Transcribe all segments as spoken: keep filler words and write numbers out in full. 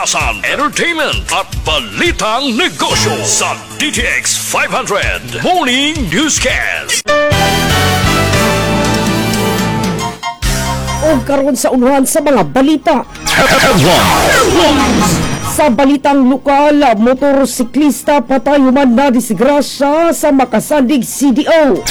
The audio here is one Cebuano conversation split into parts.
Katigasan, entertainment at balitang negosyo sa D T X five hundred Morning Newscast. O karon sa unuhan sa mga balita. Sa balitang lokal, motorsiklista patay human na disgrasya sa Makasandig C D O.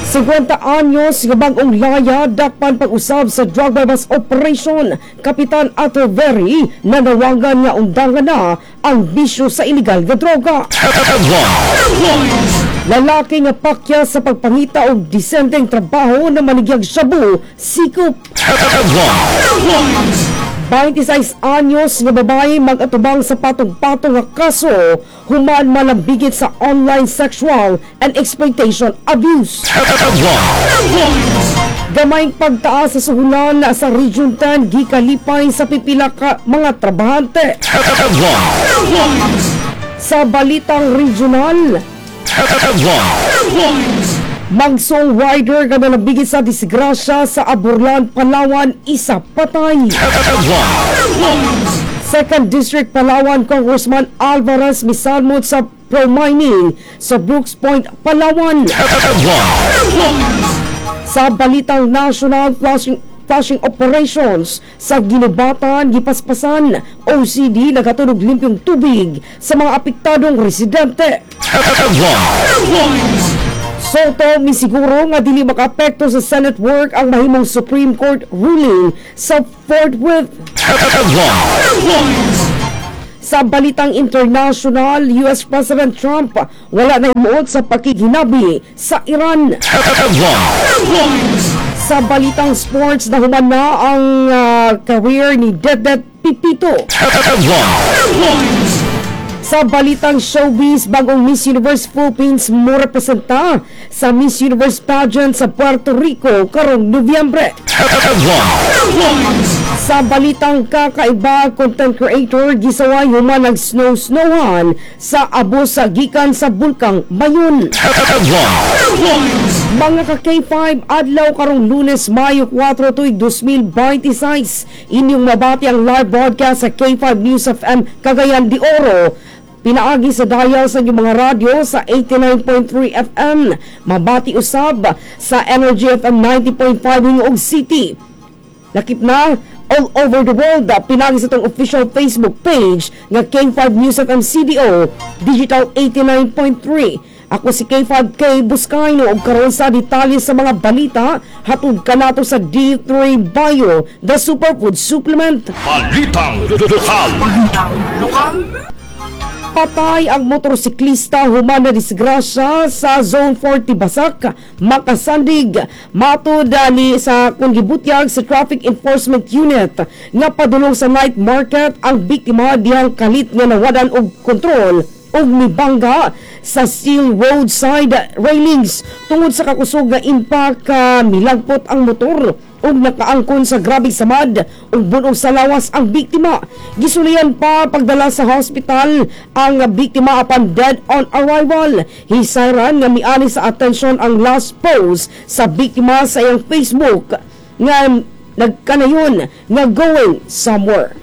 fifty anyos nga bag-ong laya dakpan pag-usab sa drug buy-bust operation. Kapitan Atterbury nanawagan nga undangan na ang bisyo sa illegal nga droga. Lalaki nga pakya sa pagpangita og disenteng trabaho na manigyag shabu, sikop. twenty-six anyos nga babae mag-atubang sa patong-patong nga kaso human malambigit sa online sexual and exploitation abuse. Gamay pagtaas sa suhulan sa Region ten gikalipay sa pipila ka mga trabahante. Sa balitang regional, magsong rider nga nalambigit sa disgrasya sa Aborlan, Palawan, isa patay. Second District Palawan Congressman Alvarez misalmot sa pro-mining sa Brooke's Point, Palawan. Sa balitang national, flushing flushing operations sa Guinobatan gipaspasan. O C D naghatod og limpyong tubig sa mga apektadong residente. Sotto misiguro nga dili makaapekto sa Senate work ang mahimong Supreme Court ruling sa forthwith. Sa balitang international, U S President Trump wala na himuot sa pakighinabi sa Iran. Sa balitang sports, nahuman na ang ah, career ni Dedet Pepito. Sa balitang showbiz, bagong Miss Universe Philippines mo representa sa Miss Universe pageant sa Puerto Rico karong Nobyembre. Sa balitang kakaiba, content creator gisaway human nag-snow-snowhan sa abos sa gikan sa Bulkang Mayon. Mga ka K five, adlaw karong Lunes, Mayo kwatro, tuig dos mil twenty-six. Inyong mabati ang live broadcast sa K five News F M Cagayan de Oro pinaagi sa dial sa inyong mga radyo sa eighty-nine point three F M. Mabati usab sa Energy F M ninety point five Gingoog City. Lakip na all over the world pinaagi sa itong official Facebook page nga K five News F M C D O Digital eighty-nine point three. Ako si K five K Buscayno ug karon sa detalye sa mga balita hatod kanato sa D three Bio, the superfood supplement. Balitang Lokal. Patay ang motorsiklista human na disgrasya sa Zone forty Basak, Makasandig. Matod ah, ni sa kung gibutyag sa Traffic Enforcement Unit nga padulong sa night market ang biktima dihang kalit nga nawadan og kontrol ug mibangga sa steel roadside railings. Tungod sa kakusog nga impact, uh, milagpot ang motor ug nakaangkon sa grabeng samad ug bunog sa lawas ang biktima. Gisulian pa pagdala sa hospital ang biktima apan dead on arrival. Hisayran nga miani sa atensyon ang last post sa biktima sa iyang Facebook nga nagkanayon nga "going somewhere".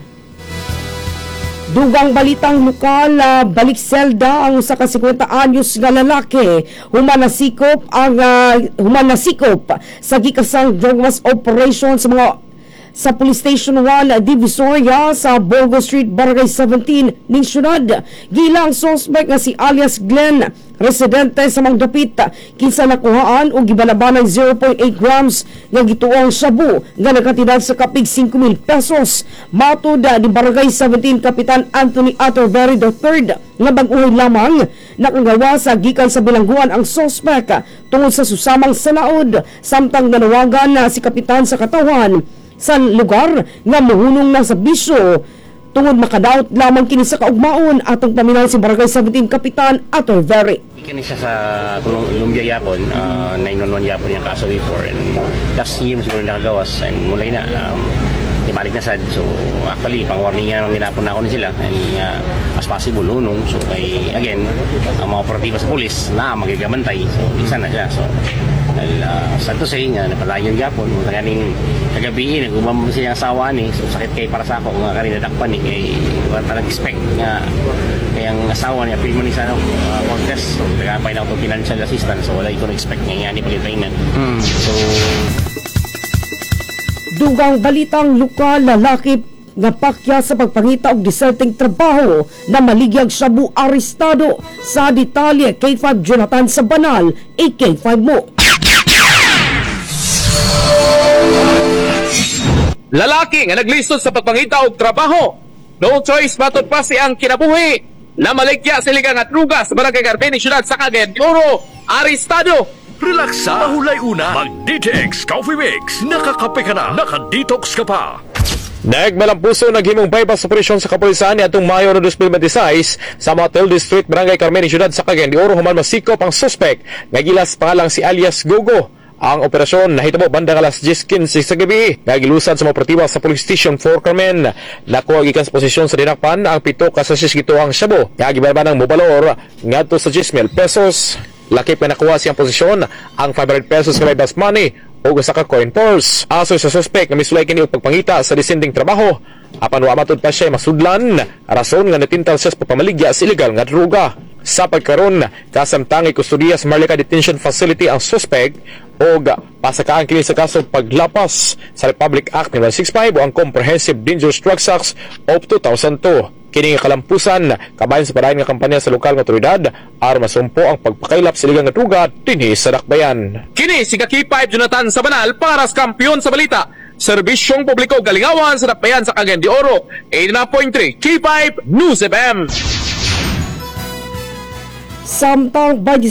Dugang balitang lokal, ah, balik selda ang usa ka singkwenta anyos nga lalaki human nasikop ang uh, human nasikop sa gikasang drug bust operation sa mga sa Police Station one Divisoria sa Bongo Street, Barangay seventeen ning syudad. Gilang suspect nga si alias Glenn, residente sa Mangdapit, kinsa nakuhaan og gibanabanang zero point eight grams nga gituong shabu nga nagkantidad sa kapig singko mil pesos. Matod ni Barangay seventeen Kapitan Anthony Atterbury the Third nga bag-ohay lamang nakagawa sa gikan sa bilangguan ang suspect tungod sa susamang sanaod, samtang nanawagan na si kapitan sa katawhan sa lugar nga muhunong na sa bisyo tungod makadaot lamang kini sa kaugmaon. Atong paminaw si Barangay seventeen Kapitan Atterbury. Kini siya sa Columbia yapon, uh, nine one one yapon yung kaso before and last year siguro nakagawas and mulay na um, ibalik na sad. So actually, pang warning nga ginapon na ako ni sila and uh, as possible hunong. So kay again, ang mga operatiba sa pulis na magigabantay. So isa na siya. So dahil uh, sad to say nga napalayo gyapon mo ganing kagabi nag-uban mo siya asawa ni, so sakit kay para sa ako nga kani nadakpan ni kay wa ta nag-expect nga kay ang asawa niya apil man ni sa ano, uh, contest, so nagapay na ako financial assistance, so wala ko na-expect nga nga ni pagitainan, so Dugang balitang lokal, lalaki nga pakya sa pagpangita og disenteng trabaho na maligyag shabu arestado. Sa detalye, K five Jonathan sa Banal, A K five mo. Lalaki nga naglisod sa pagpangita og trabaho. No choice matod pa siyang kinabuhi. Na maligya sa illegal nga druga sa Barangay Carmen, Syudad sa Cagayan de Oro. Arestado. Relaxa, mahulay una, mag-D T X Coffee Mix. Nakakape ka na, naka-detox ka pa. Nagmalampuso naghimong bypass operation sa kapulisan niadtong Mayo twenty twenty-six sa Matilde Street, Barangay Carmen, Syudad sa Cagayan de Oro human masikop ang suspect nga gilas pangalang si alias Gogo. Ang operasyon nahitabo bandang alas diyes kinse sa gabi nga gilusad sa mga operatiba sa Police Station four Carmen. Nakuha gikan sa posisyon sa dinakpan ang pito ka sachets gituohang shabu nga gibalbanang mobalor ngadto sa ten mil pesos. Lakip nga nakuha siyang posisyon ang five hundred pesos nga bypass money o usa ka coin purse. Asoy sa suspect nga misulay kini og pagpangita sa disenteng trabaho. Apan wa matud pa siya masudlan, rason nga natintal siya sa pagpamaligya sa illegal nga droga. Sa pagkaron, kasamtang ikustudiya sa Maharlika Detention Facility ang suspect og pasakaan kini sa kaso paglapas sa Republic Act nine one six five o ang Comprehensive Dangerous Drugs Act of two thousand two. Kini nga kalampusan kabahin sa padayon nga kampanya sa lokal nga otoridad aron masumpo ang pagpakaylap sa illegal nga druga dinhi sa dakbayan. Kini si K five Jonathan sa Banal para sa kampiyon sa balita. Serbisyong publiko galingawan sa dakbayan sa Cagayan de Oro. eighty-nine point three K five News F M. Samtang